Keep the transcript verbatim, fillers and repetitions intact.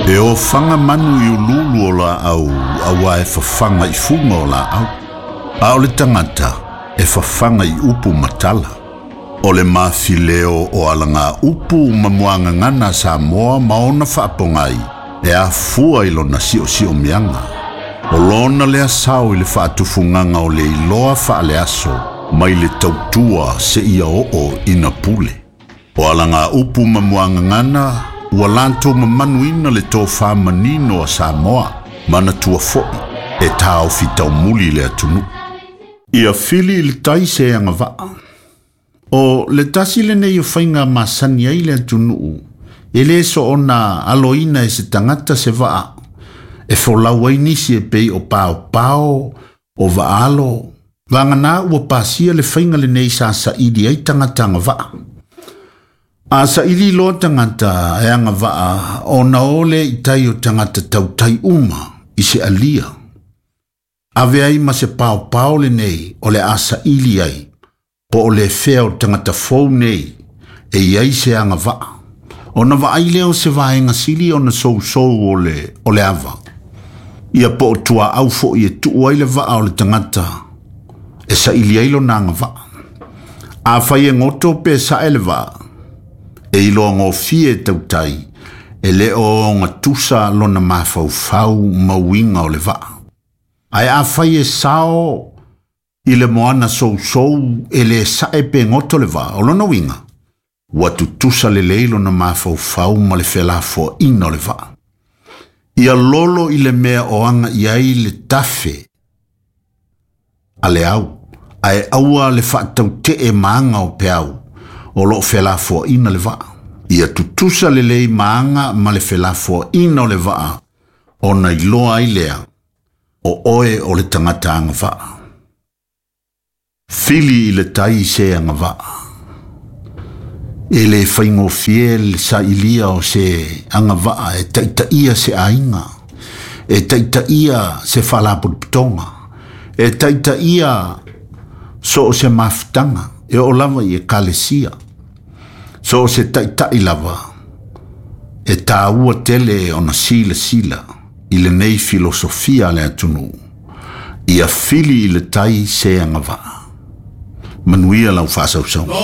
E ofaga manu i ululu o laau auā e fafaga i fuga o laau. A o le tagata e fafaga i upu ma tala. O le mafileo o alaga upu ma muagagana a Samoa ma ona faapogai e afua i lona siosiomiaga. O lona lea sao i le faatufugaga o le iloa faaleaso mai le tautua seia oo ina pule. O alaga upu ma muagagana ua latou mamanuina le tofā manino a Samoa, manatua foʻi e taofi taumuli le atunuu. Ia fili i le tai se agavaa. O le tasi lenei o faiga masani ai le atunuu, e lē soona aloina e se tagata se vaa, e folau ai nisi e pei o paopao, o vaalo, vagana ua pasia le faiga lenei sa saili ai tagata agavaa. A saili loa tagata e agavaa ona o lea i tai o tagata tautai uma i se alia. Ave ai ma se paopao lenei o le a saili ai, po o le fea o tagata fou nei e iai se agavaa. Ona vaai lea o se vaega sili ona sousou o le, o le ava. Ia po o tuaau foʻi e tuu ai le vaa o le tagata e saili ai lona agavaa. Afai e goto pe sae le vaa, e iloa gofie e tautai, e le o gatusa lona mafaufau ma uiga o le vaa. Ae afai e sao i le moana sousou e lē sae pe goto le vaa, o lona uiga, ua tutusa lelei lona mafaufau ma le felafoaina o le vaa. Ia lolo i le mea o aga i ai le tafe a le au, ae aua le faatautee ma aga o peau o loo felafoaina le vaa. Ia tutusa lelei ma aga ma le felafoaina o le vaa, ona iloa ai lea o oe o le tagata agavaa. Fili i le tai se agavaa. E lē faigofie le sailia o se agavaa e taitaia se aiga, e taitaia se faalapotopotoga, e taitaia so o se mafutaga, e oo lava i ekalesia. So o se taitai lava, e tāua tele ona silasila i lenei filosofia a le atunuu. Ia fili i le tai se agavaa. Manuia lau faasausauga.